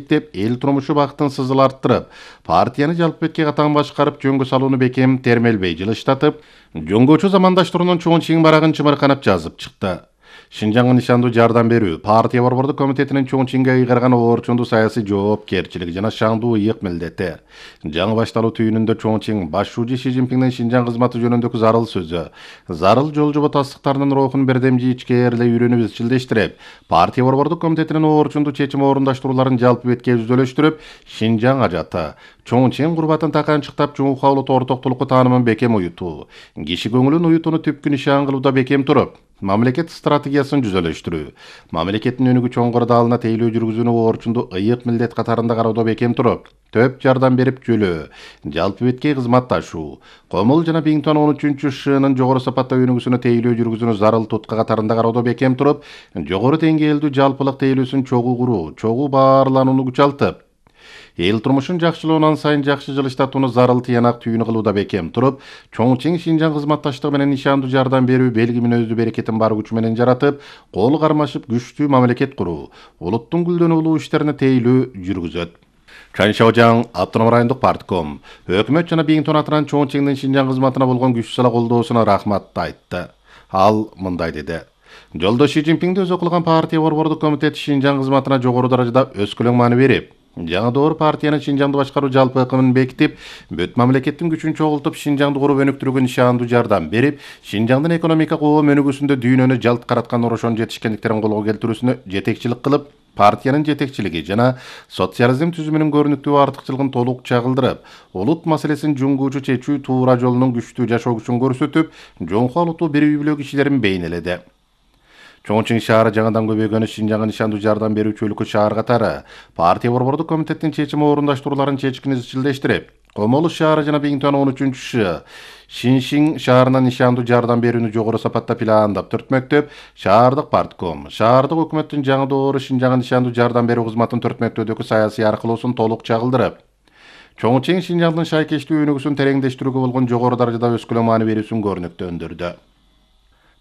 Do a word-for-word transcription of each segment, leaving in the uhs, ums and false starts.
мээктеп, эл турмушу бактын сызыл арттырып, партияны жалпы бетке катаң башкарып, жөнгө салууну бекем термелбей жылыштатып, жөнгөчү замандаштарынын чоң чиң барагын чымырканап жазып чыкты. Шинжаңга нишандуу жардам берүү партия борбордук комитетинин чоң чиңге ыйгарган орчундуу саясий жоопкерчилиги жана шаңдуу ыйык милдети. Жаңы башталуу түйүнүндө чоң чиң башчы Ши Цзиньпиндин Шинжаң кызматы жөнүндөгү зарыл сөзү, зарыл жол жобо тастыктарынын рухун бердемжи ичкээрле үйрөнүп изчилдештирип, партия борбордук комитетинин орчундуу чечим орундашtıрууларын жалпы бетке жүзөлөштүрүп, Шинжаң ажаты, чоң чиң курбатын таканчыктап, жумука улут ортоктулукку таанымын бекем уютуу, киши көңүлүн уютууну түпкү нишан кылууда бекем туруп, мамлекет стратегиясын жүзөлөштүрүү, мамлекеттин өнүгүү чоңгорду алына тейлөө жүргүзүүнү орчунду ыйык милдет катарында кароодо бекем туруп, төп жардам берип жөлөө, жалпы бетке кызматташуу, Комул жана бир миң тогуз жүз он үчүнчү шынын жогору сапатта өнүгүүсүнө тейлөө жүргүзүүнү зарыл тутка катарында кароодо бекем туруп, жогору деңгээлдүү жалпылык тейлөөсүн чогуу куруу, чогуу баарланууну күчалтып, эл турмушун жакшылоонан сайын жакшы жылыштатууну зарыл тыянак түйүнү кылууда бекем туруп, чоң чиң Шинжаң кызматташтыгы менен нишандуу жардам берүү белги мүнөздүү берекетин бар күчү менен жаратып, кол кармашып күчтүү мамлекет куруу, улуттун гүлдөнүү улуу иштерине тейлөө жүргүзөт. Чан Шаожаң автоном райондук партком өкмөт жана бир миң тогуз жүз атынан чоң чиңдин Шинжаң кызматына болгон күч сала колдоосуна рахмат айтты. Ал мындай деди: Жолдош Ши Цзиньпинди өзү кылган партия борбордук комитет Шинжаң кызматына жогору даражада өскөлөң маани берип, жаңы доор партиянын Шинжаңды башкаруу жалпы ыкымын бекитип, бүт мамлекеттин күчүн чогултуп, Шинжаңды куруп өнүктүрүүгө нишандуу жардам берип, Шинжаңдын экономика коом өнүгүүсүндө дүйнөнү жалт караткан орошон жетишкендиктерин колго келтирүүсүнө жетекчилик кылып, партиянын жетекчилиги жана социализм түзүмүнүн көрүнүктүү артыкчылыгын толук чагылдырып, улут маселесин жуңгуучу чечүү туура жолунун күчтүү жашоо күчүн көрсөтүп, жоңку алутуу бир үй бүлө кишилерин бейнеледи. Чоң чиң шаары жаңадан көбөйгөнү Шинжаңга нишандуу жардам берүүчү өлкө шаар катары партия борбордук комитеттин чечим орундашtıрууларын чечкин изчилдештирип, Комолу шаары жана бир миң тогуз жүз он үчүнчү Шиншиң шаарына нишандуу жардам берүүнү жогору сапатта пландап түртмөктөп, шаардык партком, шаардык өкмөттүн жаңы доору Шинжаңга нишандуу жардам берүү кызматын түртмөктөөдөгү саясий аркылуусун толук чагылдырып, чоң чиң Шинжаңдын шайкештүү өнүгүүсүн тереңдештирүүгө болгон жогору даражада өскөлөң маани берүүсүн көрүнүктөндүрдү.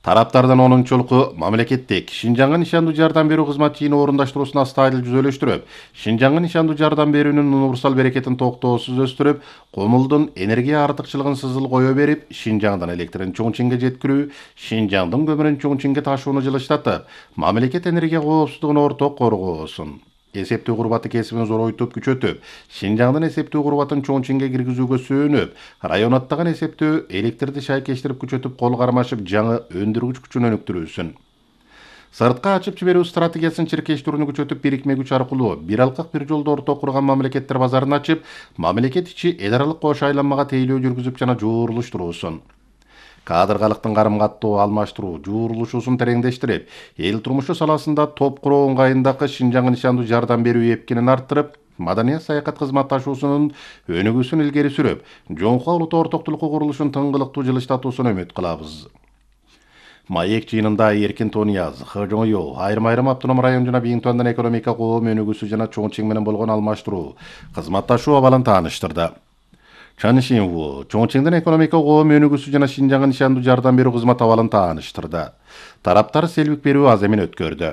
Тараптардан онунчулуку мамлекеттик Шинжаңга нишандуу жардам берүү кызматын орундашtıруусун астайыл жүзөлөштүрүп, Шинжаңга нишандуу жардам берүүнүн универсал берекетин токтоосуз өстүрүп, Комулдун энергия артыкчылыгын сызыл кое берип, Шинжаңдан электрин чоң чиңге жеткирүү, Шинжаңдын көмүрүн чоң чиңге ташууну жылыштатып, мамлекет энергия коопсуздугун орток коргоосун, эсептүү курбаты кесибин зоройтуп күчөтүп, Шинжаңдын эсептүү курбатын чоң чиңге киргизүүгө сүйөнүп, район аттаган эсептөө электрди шайкештирип күчөтүп, кол кармашып, жаңы өндүргүч күчүн өнүктүрүүсүн. Сыртка ачып жиберүү стратегиясын чиркештирүүнү күчөтүп, бирикме күч аркылуу бир алкак бир жолдо орток курган мамлекеттер базарын ачып, мамлекет ичи эл аралык кош айланмага тейлөө жүргүзүп жана жуурулуштуруусун. Кадргалыктын карым каттоо алмаштыруу, жуурулушуусун тереңдештирип, эл турмушу саласында топ куруу ыңгайындагы Шинжаңга нишандуу жардам берүү эпкинин арттырып, маданият саякат кызматташуусунун өнүгүүсүн илгери сүрүп, жоңку улут ортоктулукку курулушун тыңгылыктуу жылыштатуусуна үмүт кылабыз. Маек жыйынында Эркин Тонияз, Хожоңё, айрым-айрым автоном район жана бир миң тогуз жүз экономика коом өнүгүүсү жана чоң чиң менен болгон алмаштыруу, кызматташуу абалын тааныштырды. Чан Шинву, чоң чиңдин экономика коом өнүгүүсү жана Шинжаңга нишандуу жардам берүү кызмат абалын тааныштырды. Тараптар селбик берүү аземин өткөрдү.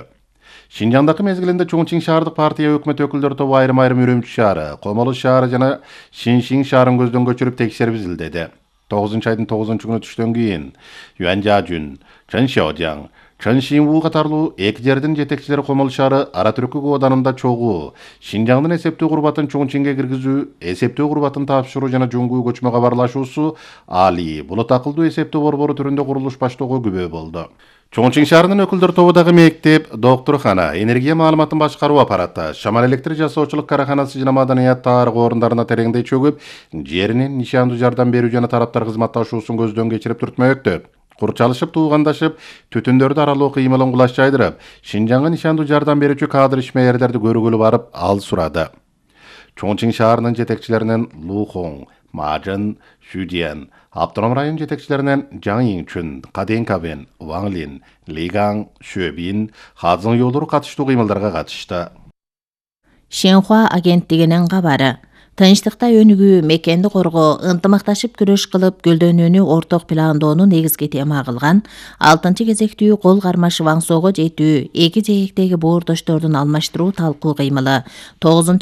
Шинжаңдагы мезгилинде чоң чиң шаардык партия өкмөт өкүлдөрү тобу айрым-айрым Үрүмчү шаары, Комолу шаары жана Шиншиң шаарын көздөн көчүрүп текшерип изилдеди. тогузунчу айдын тогузунчу күнү түштөн кийин Юан Жажун, Чан Шаожаң, Чан Шинву катарлуу эки жердин жетекчилери Комол шаары ара түркү кооданында чогуу, Шинжаңдын эсептүү курбатын чоң чиңге киргизүү, эсептүү курбатын тапшыруу жана жуңгуу көчмө кабарлашуусу Али булут акылдуу эсептөө борбору түрүндө курулуш баштоого күбө болду. Чоң чиң шаарынын өкүлдөр тобу дагы мектеп, доктурхана, энергия маалыматын башкаруу аппараты, шамал электр жасоочулук караханасы жана маданият тарых орундарына тереңдей чөгүп, жеринин нишандуу жардам берүү жана тараптар кызматташуусун көздөн кечирип түртмөктөп, курчалышып туугандашып, түтүндөрдү аралоо кыймылын кулаш жайдырып, Шинжаңга нишандуу жардам берүүчү кадр ишмерлерди көргөлү барып ал сурады. Чоң чиң шаарынын жетекчилеринен Лухоң, Мажын, Шүдиен, автоном район жетекчилеринен Жаң Иңчүн, Каден Кабен, Ваң Лин, Лигаң, Шөбин, Хазың Йолдор катыштуу кыймылдарга катышты. Шинхуа агенттигинин кабары. Тынчтыкта өнүгүү, мекенди коргоо, ынтымакташып күрөш кылып гүлдөнүүнү орток пландоону негизги тема кылган алтынчы кезектүү кол кармашып аңсоого жетүү, эки жээктеги боордоштордун алмаштыруу талкуу кыймылы тогузунчу